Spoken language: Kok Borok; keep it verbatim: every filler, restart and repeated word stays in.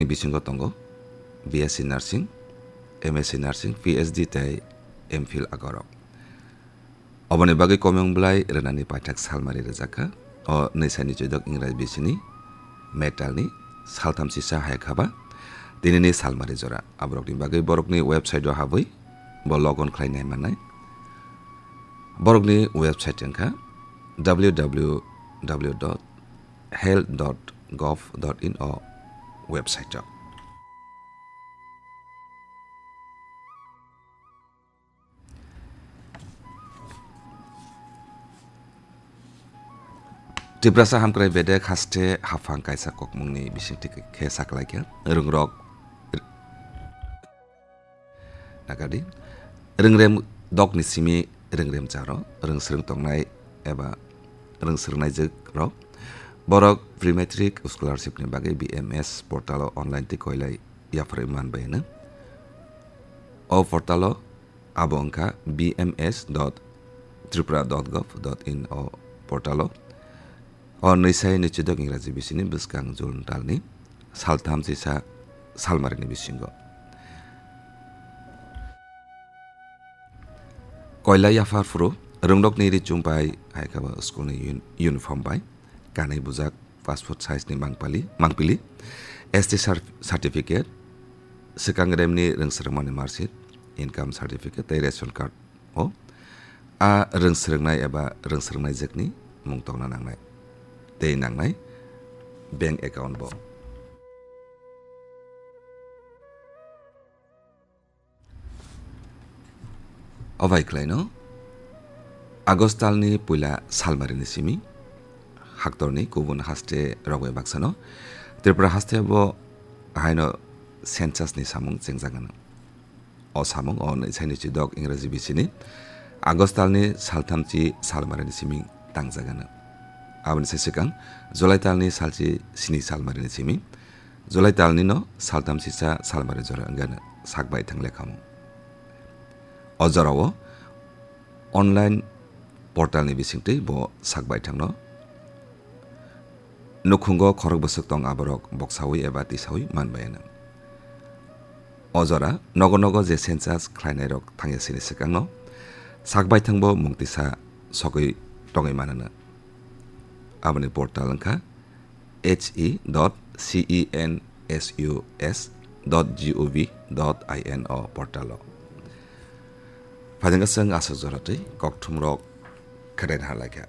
bisingo tongo B S C Nursing, M S C Nursing, P H D tei M Phil agorok. Oboni bagwi komung bwlai rwnani paithak salmari rwjakha. O nwi saini chwidok Ingrai bisini May talni saltham sisa hai khaba tinini salmari jora. Aborokni bagwi borokni website-o habwi bo log on khlai nai mannai. Borokni website wngkha W W W dot health dot gov dot in o website-o. Tiprasa Hamkrai Bedek haste haphang kaisa kokmungni bisingtwi khe saklaikha. Rwngrok nagadi, rwngrem dokni simi rwngrem charo, rwngsrwng tongnai eba rwngsrwngnaijwk rok, borok pre-matric scholarship ni bagwi B M S portal o online twi koilai yapharwi manbai hwno. O portal o abo wngkha B M S dot tripura dot gov dot in o portal o. O nwi sai nwi chwidok Ingraji bisini bwskang June talni saltham chisa salmarini bisingo. Koila yaphar phuru rwngnokni ri chumpai hai khe bo school ni un-, uniform bai kanwi bujak passport size ni mangpali, mangpili, S T cer-, certificate, swkang remni rwngsrwngmani marksheet, income certificate tei ration card o a rwngsrwngnai eba rwngsrwngnaijwkni mung tongna nangnai tei nangnai bank account bo. Obai khlaino August talni puila salmarini simi haktorni kubun haste rok bai baksano Tripura haste bo haino census ni samung chengjagano. O samung o nwi saini chwidok Ingraji bisini August talni salthamchi salmarini simi tangjagano. Aboni se swkang July talni salchi sini salmarini simi July talni no saltham sisa salmari jora wngano sak bai thang lekhamung. O jorao online portal ni bisingtwi bo sak bai thangno nukhungo khorok bwswk tong aborok boksawi eba tisawi manbai ano. O jora nogo nogo je census khlainairok thangya sini swkangno sak bai thangbo mung tisa sogwi tongwi manano. Aboni portal wngkha H E dot C E N S U S dot G O V dot I N o portal o. Phaidengka chwng aswk jora twi kokthumrok khedaina harlaikha.